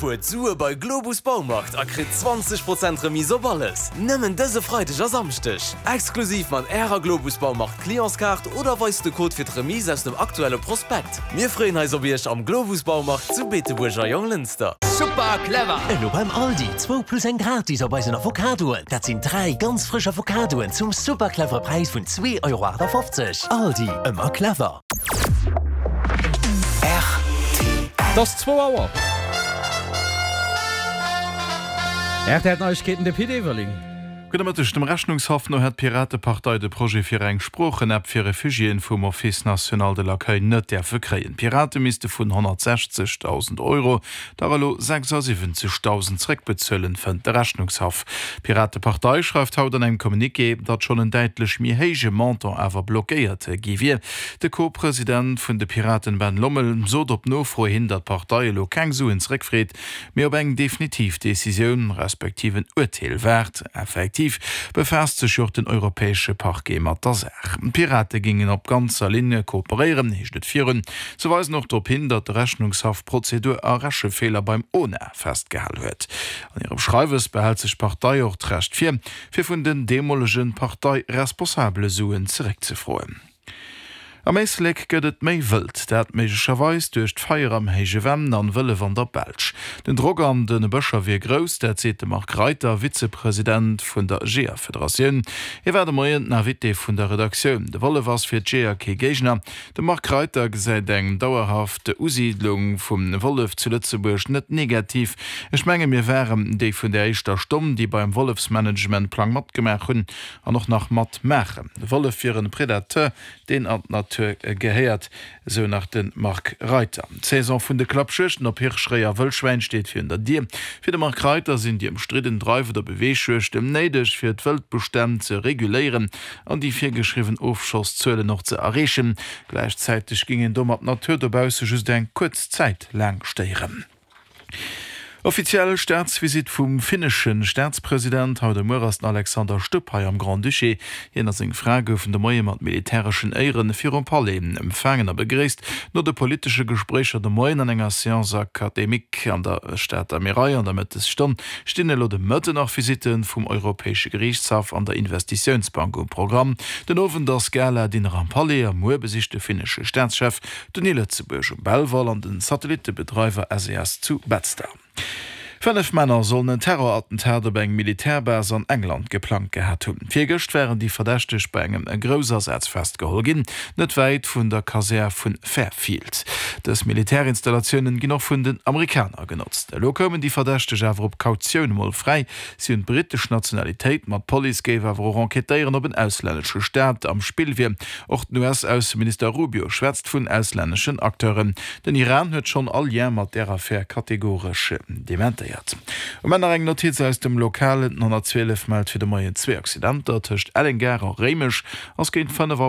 Spuert Sue bei Globus Baumarkt a kritt 20 Prozent Remise op alles! Nëmmen dëse Freideg a Samschdeg! Exklusiv mat Ärer Globus Baumarkt Clientskaart oder weist de Code fir d'Remise aus dem aktuelle Prospekt. Mir freeën eis op Iech am Globus Baumarkt zu Beetebuerg a Jonglënster. Super clever! Elo beim Aldi, zwou plus eng gratis op eisen Avocadoen. Dat sinn 3 ganz frësch Avocadoen zum super clevere Präis vun 2,58 Euro. Aldi, ëmmer clever. Et ass zwou Auer. RTL Neiegkeeten, de Pit Everling. Gudde Mëtteg. Dem Rechnungshaff no hätt d'Piratepartei de Projet fir eng Sproochen-App fir Refugiéen vum Office national de l'accueil net däerfe kréien. D'Pirate misste vun 160.000 Euro dach elo 76.000 zréckbezuelen, fënnt de Rechnungshaff. D'Piratepartei schreift haut an engem Communiqué, datt schonn en däitlech méi héije Montant awer blockéiert gi wier. De Co-President vun de Piraten Ben Lommel sot op Nofro hin, datt d'Partei elo keng Suen zréckfreet, mee op eng definitiv Decisioun, respektiv en Urteel waart. Effektiv befaasst sech jo och den europäesche Parquet mat der Saach. D'Pirate géingen op ganzer Linn kooperéieren, heescht et virun. Se weisen och drop hin, datt de Rechnungshaff Prozedur a Rechefeeler beim ona festgehal huet. An hirem Schreiwes behält sech d'Partei och d'Recht vir, fir vun den deemolege Parteiresponsabele Suen zeréckzefroen. Am Éislek gëtt et méi wëld, dat méiglecherweis duerch d'Feier am Héije Venn an Wëllef an der Belsch. Den Drock an de Bëscher wier grouss, dat seet de Marc Reiter, Vizepresident vun der Jeeërfederatioun. Hie war de Moien den Invité vun der Redaktioun. De Wollef ass fir d'Jeeër kee Géigner. De Marc Reiter gesäit eng dauerhaft Usiidlung vum Wollef zu Lëtzebuerg net negativ. Ech menge mir waren déi vun der éischter Stonn, déi beim Wollefsmanagementplang matgemaach hunn. An och nach mat maachen. De Wollef wier en Predateur, deen an d'Natur gehéiert, esou nach de Marc Reiter. D'Saison vun de Klappjuegten op Hirsch, Réi a Wëllschwäin steet virun der Dier. Fir de Marc Reiter sinn déi ëmstridden Dreif oder Beweegjuegten néideg, fir d'Wëldbestänn ze reguléieren an déi virgeschriwwen Ofschosszuelen och ze erreechen. Gläichzäiteg géing een domat d'Natur dobausse just eng kuerz Zäit laang stéieren. Offiziell Staatsvisitt vum finnesche Staatspresident. Haut a muer ass den Alexander Stubb hei am Grand-Duché. Hien a seng Fra goufen de Moie mat militäreschen Éiere virum Palais empfaangen a begréisst. No de politesche Gespréicher de Moien an enger Séance académique an der Stater Mierei an der Mëttesstonn stinn elo de Mëtten nach Visitte vum Europäesche Geriichtshaff an der Investitiounsbank um Programm. Den Owend ass Gala-Dinner am Palais a muer besicht de finnesche Staatschef D'Uni Lëtzebuerg um Belval an den Satellittebedreiwer SES zu Betzder. 5 Männer sollen en Terrorattentat op eng Militärbase an England geplangt gehat hunn. Virgëscht waren déi Verdächteg bei engem Groussasaz festgeholl ginn, net wäit vun der Kasär vun Fairfield. Dës Militärinstallatiounen ginn och vun den Amerikaner genotzt. Elo koumen déi Verdächteg awer op Kautioun emol fräi. Si hunn d'brittesch Nationalitéit, ma d'Police géif awer och enquêtéieren, ob en auslännesche Staat am Spill wier. Och den US-Ausseminister Rubio schwätzt vun auslänneschen Acteuren. Den Iran huet schonn all Lien mat där Affär kategoresch dementéiert. Um Enn nach eng Notiz aus dem Lokalen, Den 112 mellt fir de Moien zwee Accidenter. Tëscht Elleng-Gare a Réimech ass géint 5 Auer.